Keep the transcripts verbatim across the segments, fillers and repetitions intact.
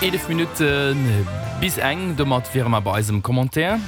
Eelef Minutte bis eng, domat wiere mer bei eisem Commentaire.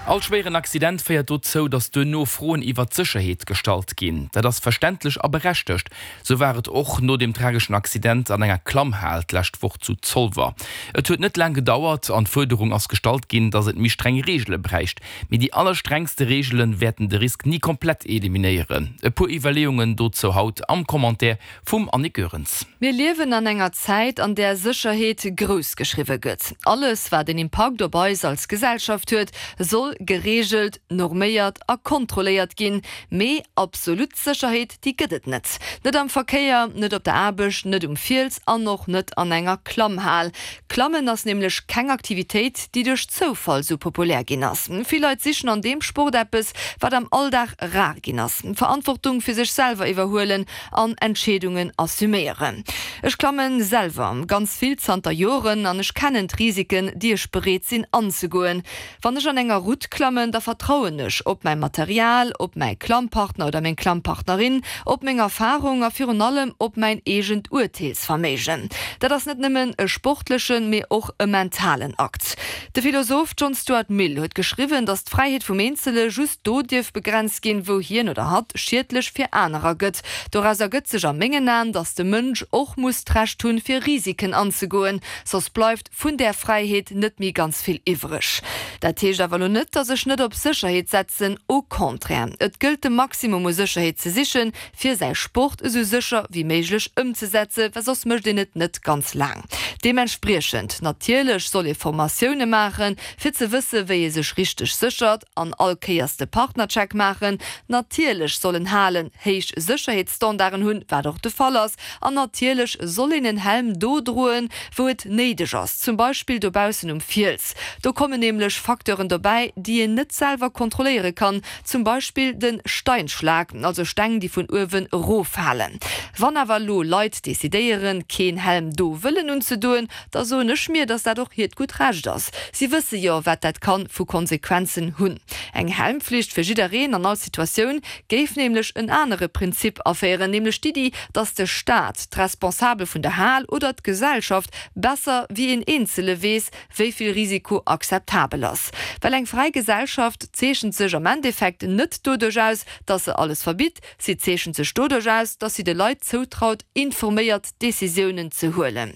All schwéieren Accident féiert dozou, datt duerno Froen iwwer d'Sécherheet gestallt ginn. Dat ass verständlech a berechtegt. Sou war et och no dem trageschen Accident an enger Klammhal d'lescht Woch zu Zolwer. Et huet net laang gedauert an d'Fuerderung ass gestallt ginn, datt et méi streng Reegele bräicht. Mee déi allerstrengste Reegele wäerten de Risk ni komplett eliminéieren. E puer Iwwerleeungen dozou haut am Commentaire vum Annick Goerens. Mir liewen an enger Zäit, an där Sécherheet grouss geschriwwe gëtt. Alles, wat en Impakt op eis als Gesellschaft huet, soll gereegelt, norméiert a kontrolléiert ginn. Mee absolut Sécherheet, déi gëtt et net. Net am Verkéier, net op der Aarbecht, net um Fiels an och net an enger Klammhal. Klammen ass nämlech keng Aktivitéit, déi duerch Zoufall sou populär ginn ass. Vill Leit sichen an deem Sport eppes, wat am Alldag rar ginn ass, Verantwortung fir sech selwer iwwerhuelen an Entscheedungen assuméieren. Ech klammen selwer ganz vill zanter Joren an ech kennen d'Risiken, déi ech bereet sinn anzegoen. Wann ech an enger Route klammen, da vertrauen ech op mäi Material, op mäi Klammpartner oder meng Klammpartnerin, op meng Erfarung a virun allem op mäin eegent Urteelsverméigen. Dat ass net nëmmen e sportlechen, mee och e mentalen Akt. De Philosoph John Stuart Mill huet geschriwwen, datt d'Fräiheet vum Eenzele just do dierf begrenzt ginn, wou hien oder hatt schiedlech fir anerer gëtt. Doraus ergëtt sech a mengen Aen, datt de Mënsch och muss d'Recht hunn, fir Risiken anzegoen, soss bleift vun där Fräiheet net méi ganz vill iwwreg. Dat heescht awer elo net, datt ech net op Sécherheet setzen, au contraire, et gëllt de Maximum u Sécherheet ze sichen, fir säi Sport esou sécher wéi méiglech ëmzesetzen, well soss mécht een et net ganz laang. Deementspriechend, natierlech soll ee Formatioune maachen, fir ze wësse wéi ee sech richteg séchert an all Kéiers de Partnercheck maachen. Natierlech sollen Halen héich Sécherheetsstandarden hunn, wat och de Fall ass. An natierlech soll een en Helm do droen, wou et néideg ass, zum Beispill dobaussen um Fiels. Do kommen nämlech Facteuren dobäi, déi een net selwer kontrolléiere kann, zum Beispill de Steinschlag, also Steng, déi vun uewen eroffalen. Wann awer elo Leit decidéieren, keen Helm do wëllen unzedoen, da soen ech mir, dass dat och hiert gutt Recht ass. Si wësse jo, wat dat kann vu Konsequenzen hunn. Eng Helmflicht fir jiddereen an all Situatioun géif nämlech en anere Prinzip aféieren, nämlech d'Iddi, dass de Staat, d'Responsabel vun der Hal oder d'Gesellschaft besser wéi een Eenzele weess, wéi vill Risiko akzeptabel ass. Well eng fräi Gesellschaft zeechent sech am Endeffekt net doduerch aus, dass se alles verbitt, si zeechent sech doduerch aus, dass si de Leit zoutraut, informéiert Decisiounen ze huelen.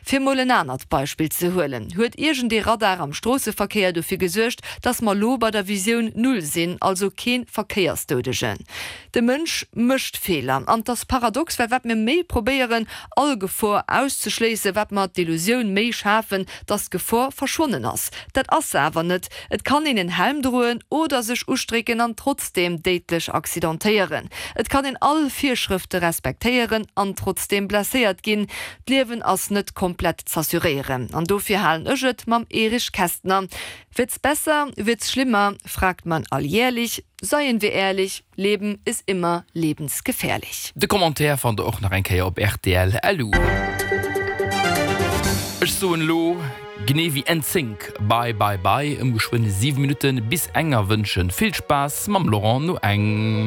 Fir mol en anert Beispill ze huelen, Huet iergendee Radar am Stroosseverkéier dofir gesuergt, dass mer lo bei der Visioun Null sinn, also kee Verkéiersdoudegen? De Mënsch mécht Feeler. An 't ass paradox, well wat mir méi probéieren, all Gefor auszeschléissen, wat mer d'Illusioun méi schafen, dass d'Gefor verschwonnen ass. Dat ass se awer net. Et kann een en Helm droen oder sech ustrécken an trotzdeem déidlech accidentéieren. Et kann een all Virschrëfte respektéieren an trotzdeem blesséiert ginn. D'Liewen ass net komplett z'assuréieren. An dofir halen ech et mam Erich Kästner, Wird's besser, wird's schlimmer, fragt man alljährlich, seien wir ehrlich, Leben ist immer lebensgefährlich. De Commentaire fannt der och nach eng Kéier op rtl. Lu. Ech soen elo, genee wéi NSYNC, Bye bye bye, ëm geschwënn siwe Minutten bis eng a wënschen vill Spaass mam Laurent no eng.